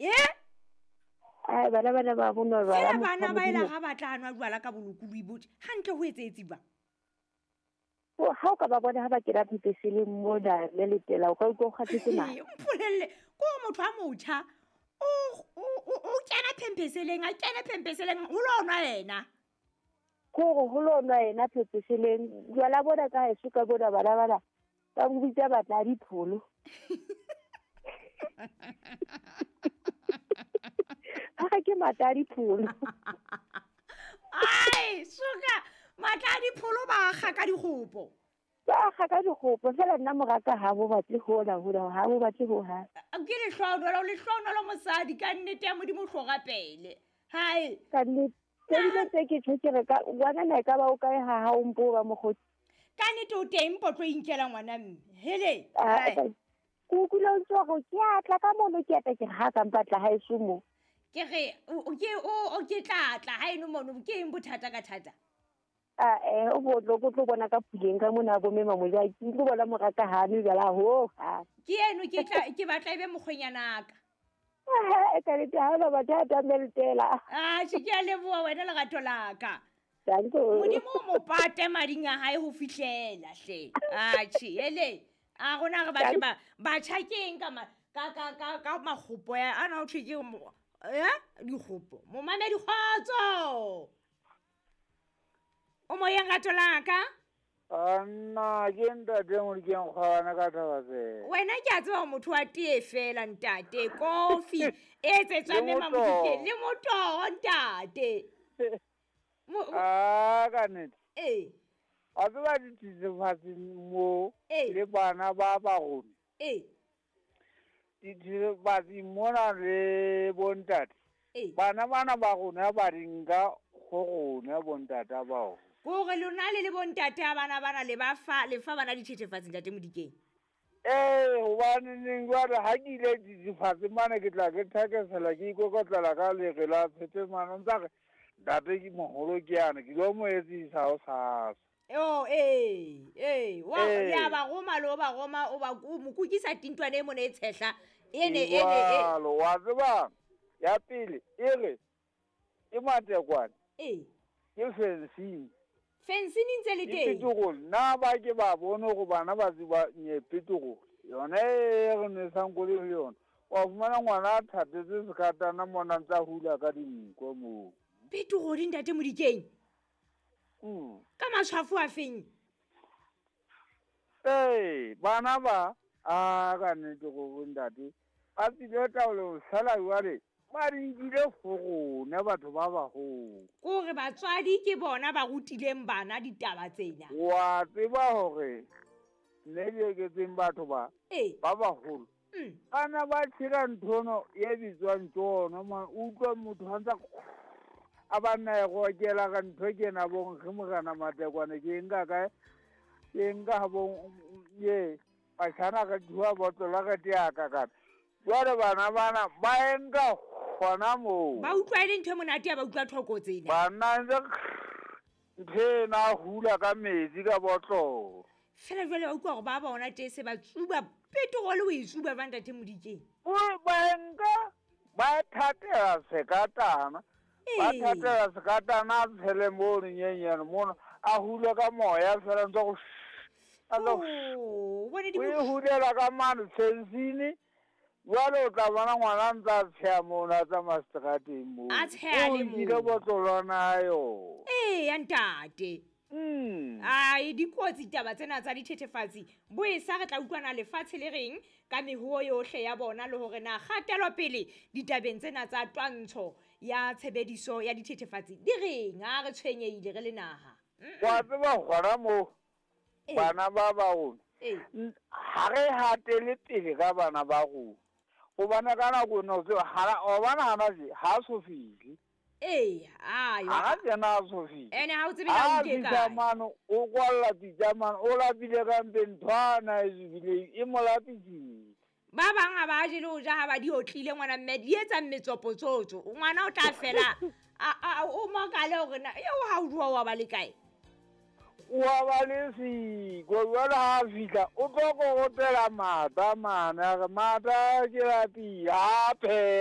Ye? Ai, bana bana ba bonwa jwala. Fela bana ba ela ga ba tla nwa jwala ka bolokolohi botle. Hantle ho etsetse jwang? Ha o ka ba bona ha ba kena phepeseleng mona le letela, o ka utlwa o kgathetse mare. Mpolelle, ko motho a motjha o kena phempeseleng, a kene phempeseleng ho lo nwa yena. Kore ho lo nwa yena phempeseleng. Jwala bona ka heso ka bona bana bana ba mo bitsa batla dipholo. Ha ke matla dipholo. Ai, suka matla dipholo ba kga ka dikgopo. Ba kga ka dikgopo fela nna moraka ha bo batle hona hona ha bo batle ho ha. Ke lehlohonolo, lehlohonolo mosadi ka nnete ya Modimo hloka pele. Hai. Ka nnete tse dilo tse ke tjho ke re ka ngwana na e ka ba o kae ha ha o mpo ba mokgotsi. Ka nnete o teng potlo inkela ngwana mme. Hele. Ke utlwile o ntse o re ke a tla ka mono ke a tla ke re ha ka mpatla ha eso mo. Ke re o ke tla tla ha eno mono ke eng bothata ka thata? O bo tlo tlo bona ka puleng ka mona bo mema moja ke tlo bona moraka ha nwe jwala ho ha. Ke eno ke tla ke batla ebe mokgwenyana ka. Ka le ha ba batla meletela. Ah, ke a leboha wena lerato la ka. Danko. Modimo o mo pate mading a hae ho fihlela hle. Atjhe, hele. A rona re batle ba batjha keng ka ka ka makgopo ya ana o thwe ke dikgopo. Momamedi kgotso. O moyeng rato la ka? Anna ke ntate Modikeng kgwana ka taba tse. Wena ke a tseba motho wa tee fela ntate, kofi e etsetswa mme Mamodikeng le motoho ntate. Ah, ka nnete. Ee. Wa tseba dithethefatsi mo le bana ba ba rona. Ee. Dithethefatsi mona le bontate. Bana bana ba rona ba di nka go rona bontata bao. Kore lona le le bontate a bana bana le ba fa le fa bana dithethefatsi ntate Modikeng. Ee, hobane neng jwale ha ke ile dithethefatsi mane ke tla ke thakesela ke ikokotlela ka lere la phete mane ntsa re ntate ke moholo ke yana ke lo mo etsisa ho sasa. Oh, ee, wa ya ba roma lo ba roma o ba mo kukisa tintwane e mona e tshehla ene ene e wa tseba ya pele e re ke matekwane. Ee. Ke fencing. Fencing ntse le teng. Petrol na ba ke ba bone go bana ba tseba nye petrol. Yona e re nwesang koloi ho yona. Wa fumana ngwana a thatetse sekatana mona ntsa hula ka dinko moo. Petrol ntate Modikeng. Ka matshwafo a feng? Ee, bana ba a ka nnete go ntate. Ba tsile taolo sala jwale. Ba di nkile ho rona batho ba baholo. Kore batswadi ke bona ba rutileng bana ditaba tsena. Wa tseba hore nne di eketseng batho ba ba baholo. Bana ba tshela nthono e bitswang tsono ma utlwa motho ha ntsa a ba nna e gokela ka ntho ke na bong ge morena matekwane ke nka kae ke nka bong ye batjhana ka thua botlola ka teaka kana. Jwale bana bana ba enka gona moo. Ba utlwa e le ntho e monate ya ba utlwa thoko tsena. Bana ntse ntho ena hula ka metsi ka botlolo. Fela jwale ba utlwa hore ba bona tee se ba tsuba petrol o e tsuba ba ntate Modikeng. Ba enka ba thatela sekatana. Ba thatela sekatana a tshele mono nyenyane mono a hule ka moya fela ntse go Oh, bone di o e hulela ka mane fencing. Jwale o tla bona ngwana ntsa tsheha mona a tsamaya seterateng moo. A tsheha le moo. O nkile botlolwana yo. Ee, ya ntate. Ai, dikotsi taba tsena tsa dithethefatsi. Bo e sa re tla utlwana lefatshe le reng ka mehuo yohle ya bona le hore na kgatelopele ditabeng tsena tsa twantsho ya tshebediso ya dithethefatsi di reng ha re tshwenyehile re le naha. Wa tseba gona moo bana ba ba rona. Ha re hatele pele ka bana ba rona. Hobane ka nako eno tseo ha o bana hana je ha so fihle. Ee, ayo. Ha tsena a so fihle. Ene ha o tsebe la o ke kae. Mano o kwalla pitsa mano o lapile ka mpeng nthwana e zubileng e mo lapisitse. Ba bang ha ba je le ho ja ha ba di otlile ngwana mme di etsa metsopotsotso. Ngwana o tla fela a o makale hore na eo ha o jwa wa ba le kae. Wa ba le siko jwale ha fihla o tlo kokotela mata mane a re mata ke lapile a pheha.